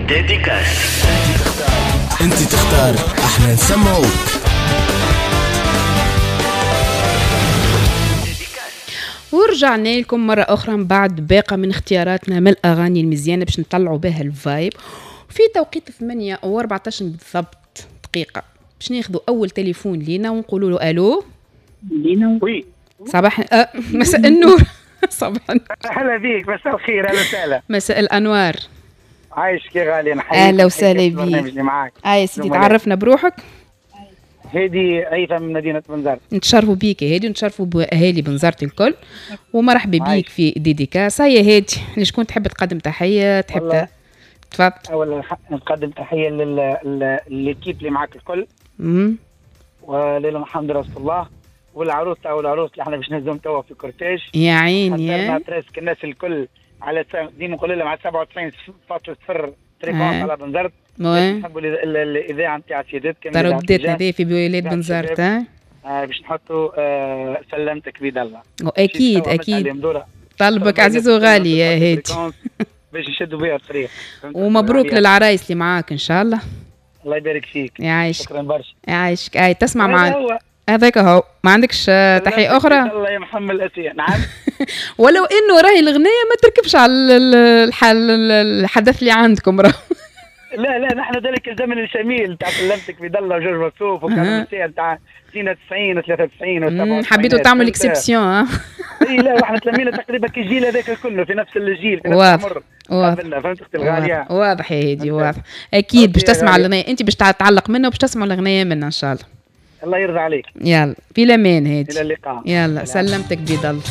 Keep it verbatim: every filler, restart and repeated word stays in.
dédicace. انت تختار، احنا نسمعوك. ورجعنا لكم مرة أخرى من بعد باقة من اختياراتنا من الأغاني المزيانة باش نطلعوا بها ال vibe في توقيت ثمانية وأربعتاش بالضبط دقيقة، باش ناخذوا أول تليفون لينا ونقولوا له ألو. لينا oui صباح أه مساء النور. صباح النور. هلا بيك، مساء الخير، اهلا وسهلا. مساء الأنوار. عايشك يا غالي، نحييك. أهلا وسهلا بيك. معاك آه سيدي، تعرفنا بروحك. هادي هيثم من مدينة بنزرت. نتشرفوا بيك يا هادي ونتشرفوا بأهالي بنزرت الكل، ومرحبا بيك في dédicace. يا هادي، لشكون تحب تقدم تحية؟ تحب تفضل. أولا نقدم تحية لل l'équipe اللي معاك الكل، امم وليلى محمد رسول الله، والعروس أو العروس اللي احنا باش نهزهم توا في cortège. يا عيني، presque الناس الكل على ديما نقول لهم على سبعة وتسعين فاصلة صفر fréquence على بنزرت. نحبوا الاذاعة نتاع سيادتكم ترددتنا هذه في ولاية بنزرت. آه باش نحطوا آه سلمتك بيد الله. اكيد اكيد، طلبك عزيز وغالي يا هادي باش نشدوا بها الطريق. ومبروك للعرايس اللي معاك ان شاء الله. الله يبارك فيك. يعيشك. شكرا برشا. يعيشك. اي تسمع معنا هذاك هو، ما عندكش تحية أخرى؟ الله يا محمد الأسية. نعم. ولو إنه راهي الغنية ما تركبش على الحدث اللي عندكم راه. لا لا، نحن ذلك الزمن الجميل تاع سلمتك بيد الله وجورج وسوف وكان تاع اثنين وتسعين وثلاثة وتسعين وسبعة وتسعين. حبيتوا تعملوا exception. ها اي لا، واحنا تلمينا تقريبا كالجيل هذاك كله في نفس الجيل في نفس العمر. واضح. فهمت اختي الغالية؟ واضح يا هادي، واضح. اكيد باش تسمع الغنية، انت باش تعلق منها وباش تسمع الغنية منا ان شاء الله. الله يرضى عليك. يلا في الامان هادي. الى اللقاء. يلا سلمتك بيد الله.